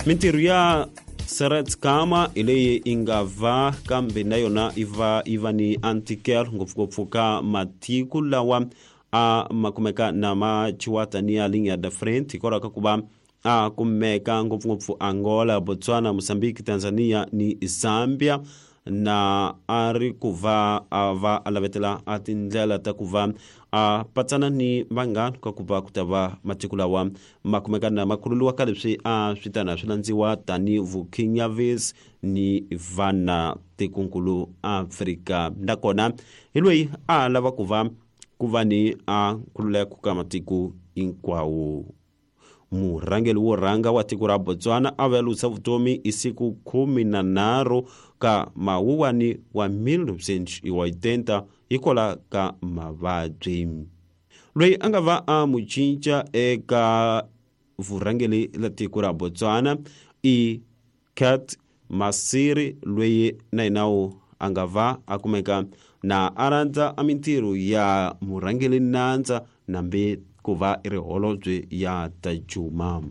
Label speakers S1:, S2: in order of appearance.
S1: Mintirho ya Seretse Khama hi leyi yi nga va kambe na yona yi va yi va ni antikelo ngopfungopfu ka matiko lawa a ma kumeka na ma chiwa taniya linya da front hikwalaho ka ku va a kumeka ngopfungopfu Angola, Botswana, Mozambique, Tanzania ni Zambia na a ri ku va a va a lavetela a tindlela ta ku va a patsana ni vanghana ka ku va ku ta va matiko lawa ma kumeka na ma khululiwa ka leswi a swi tana swi landziwa tani vukhinyavisi ni vana tikonkulu Afrika. Nakona hi loyi a lava ku va ku va ni a nkhululeko ka matiko hinkwawo. Murhangeri wo rhanga wa tiko ra Botswana a vuya vutomi hi siku 13 ka Mawuwani wa 1980 hikwalaho ka mavabyi. Loyi a nga va a mu cinca eka vurhangeri la tiko ra Botswana i Cat Masiri, loyi na yena a nga va a kumeka na a rhandza a mintirho ya murhangeri nandza nambi ku va i ri holobye ya ta Juma.